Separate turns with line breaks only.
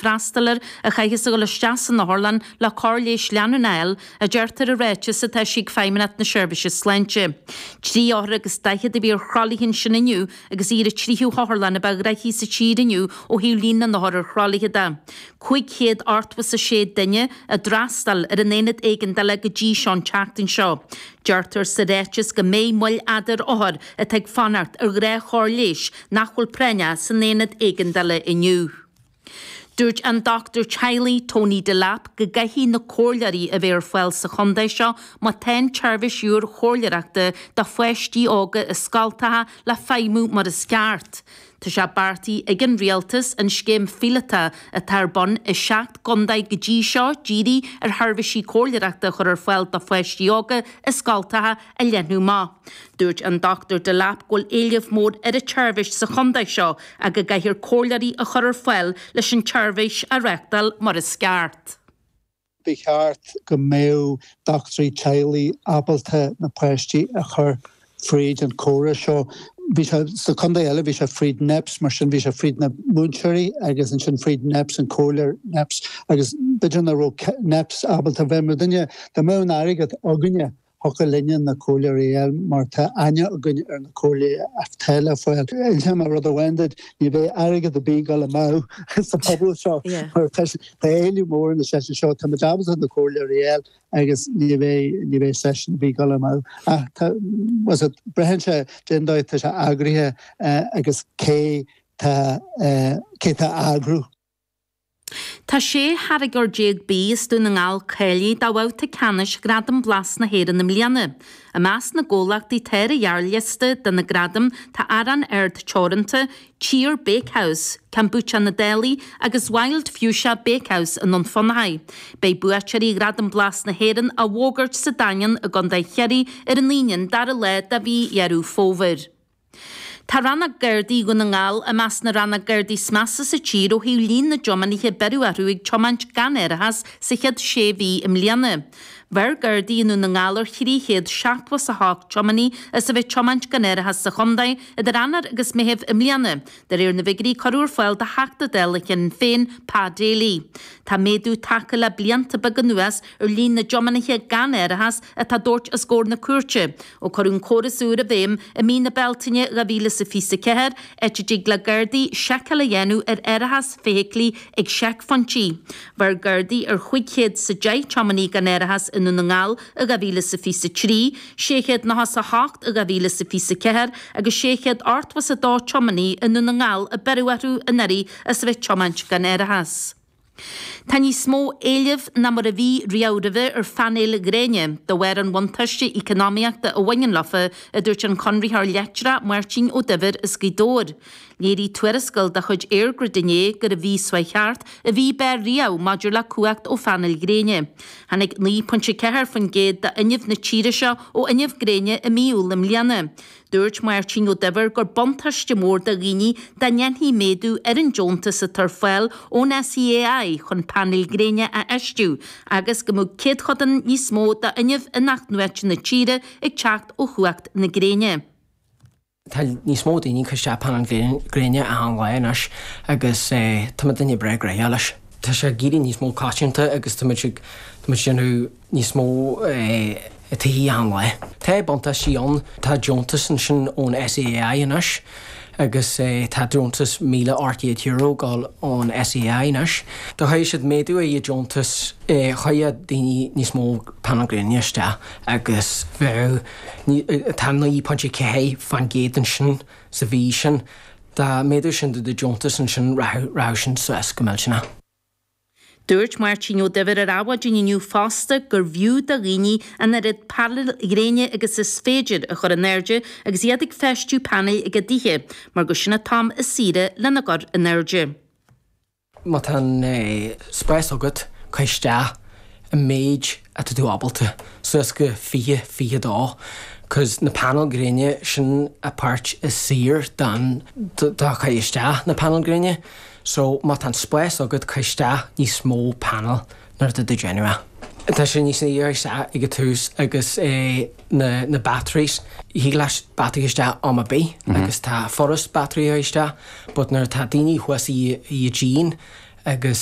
freastal air a chaithfeas a dhul isteach san otharlann le cóir leighis leanúnach a fháil, a deirtear i ráiteas atá eisithe ag Feidhmeannacht na Seirbhíse Sláinte. 3 othar agus 40 a bhí ar thralaithe ansin inniu agus í ar an tríú hotharlann a ba ghnoithí sa tír inniu ó thaobh líon na n-othar ar thralaithe de. 586 duine a d'fhreastail ar an aonad éigeandála go dtí seo an tseachtain seo. Deirtear sa ráiteas go mbeidh moill fhada ar othair atá ag fanacht ar ghnáthchóir leighis nach bhfuil práinneach san aonad éigeandála inniu. Dúirt an dochtúir teaghlaigh Tony Delap go gcaithfidh na comhairleoirí a bheith ar fáil sa chontae seo má tá an tseirbhís úr chomhairleoireachta do pháistí óga i scoltacha le feidhmiú mar is ceart. Tá sé beartaithe ag an Rialtas an scéim phíolótach atá ar bun i seacht gcontae go dtí seo dírithe ar sheirbhísí comhairleoireachta a chur ar fáil do pháistí óga i scoltacha a leathnú amach. Dúirt an Dr Delap go bhfuil éileamh mór ar an tseirbhís sa chontae seo ach go gcaithfear comhairleoirí a chur ar fáil leis an tseirbhís a reáchtáil mar is ceart.
Ba cheart go mbeadh dochtúirí teaghlaigh ábalta na páistí a chur fríd an chóras seo. Bhí sé, sa chontae eile, bhí sé fríd NEPS, mar sin bhí sé fríd na múinteoirí agus ansin fríd NEPS, an comhairleoir NEPS agus b'fhéidir nach raibh NEPS ábalta bheith mar duine, dá mbeadh an airgead againne, Thiocfadh linne na comhairleoirí a fháil mar tá aithne againn ar na comhairleoirí atá le fáil. Inseoidh mé rud amháin duit, ní bheidh airgead ar bith ag dul amú sa phobal seo mar tá éileamh mór ar na seisiúin seo. Tá muid ábalta na comhairleoirí a fháil agus ní bheidh ní bheidh seisiún ar bith ag dul amú. Ach tá, braitheann sé cén dóigh atá sé eagraithe agus cé tá cé tá á eagrú.
Tá 16 tháirgeoir bídh as Dún na nGall cáilithe do bhabhta ceannais Ghradaim Blas na hÉireann i mbliana. I measc na gcomhlachtaí atá ar an ghearrliosta do na gradaim tá Arán Ard Teoranta, Tír Bakehouse, Kombucha na Dálaigh agus Wild Fuchsia Bakehouse i nDún Fionnachaidh. Beidh buaiteoirí Ghradaim Blas na hÉireann á bhfógairt sa Daingean i gContae Chiarraí ar an Aoine an dara lá de mhí Dheireadh Fómhair. Tá Rannóg Gardaí Dhún na nGall i measc na rannóg Gardaí is measa sa tír ó thaobh líon na dtiománaithe a beireadh orthu ag tiomáint gan árachas sa chéad sé mhí i mbliana. Bheir Gardaí i nDún na nGall ar 378 tiománaí as a bheith ag tiomáint gan árachas sa chontae idir Eanáir agus Meitheamh i mbliana, De réir na bhfigiúirí a cuireadh ar fáil do Theachta Dála Shinn Féin, Pa Daly. Tá méadú tagtha le blianta beaga anuas ar líon na dtiománaithe gan árachas atá á dtabhairt os comhair na cúirte, ó cuireadh an córas úr i bhfeidhm i mí na Bealtaine 2024, áit a dtig le Gardaí seiceáil a dhéanamh ar árachas feithiclí ag seicphointí. Bheir Gardaí ar 510 tiománaí gan árachas i nDún na nGall i 2023, 698 i 2024 agus 682 tiománaí i nDún na nGall a beireadh orthu anuraidh as a bheith ag tiomáint gan árachas. Tá níos mó éilimh ná mar a bhí riamh roimhe ar phainéil ghréine, de bharr an bhuntáiste eacnamaíochta a bhaineann leofa, a dúirt an conraitheoir leictreach Máirtín Ó Duibhir as Gaoth Dobhair. Léirigh tuarascáil de chuid EirGrid inné gur i mhí seo chuaigh thart a bhí barr riamh maidir le cumhacht ó phainéil ghréine. Tháinig 9.4% d'fhuinneamh na tíre seo ó fhuinneamh gréine i mí Iúil i mbliana. Dúirt Máirtín Ó Duibhir gur buntáiste mór do dhaoine dá ndéanfaí méadú ar an deontas atá ar fáil ón SEAI chun painéil gréine a fheistiú agus go mbeadh céadchodán níos mó d'fhuinneamh in-athnuaite na tíre ag teacht ó chumhacht na gréine.
Tá níos mó daoine ag cur isteach painéil gréine achan lá anois agus tá muid duine breá gnoitheach leis. Tá sé ag éirí níos mó coitianta agus tá muid ag déanamh níos mó tithe achan lá. Tá buntáistí ann, tá deontas ansin ón SEAI anois agus tá deontas €1,800 ag dul ón SEAI anois. Dá chuirfeadh siad méadú ar an deontas chuirfeadh daoine níos mó painéil gréine isteach agus bheadh Tá 9.4% ansin sa mhí sin. Dá méadódh sin do deontas ansin rachadh sin suas go millteanach.
Dúirt Máirtín Ó Duibhir ar Adhmhaidin inniu fosta gurbh fhiú do dhaoine an oiread painéil ghréine agus is féidir a chur in airde agus iad ag feistiú painéil ag a dtithe mar gur sin an t-am is saoire lena gcur in airde.
Má tá an spás agat, cuir isteach an méid atá tú ábalta, suas go 20, 22, cos na painéil gréine, sin a páirt is saoire don, do chur isteach na painéil gréine. So má tá an spás agat, cuir isteach níos mó painéil nuair atá tú ag déanamh é. Tá sé níos saoire isteach ag an tús agus na na batteries, thig leat battery isteach am ar bith agus tá furast battery a chur isteach but nuair atá daoine thuas i i díon agus.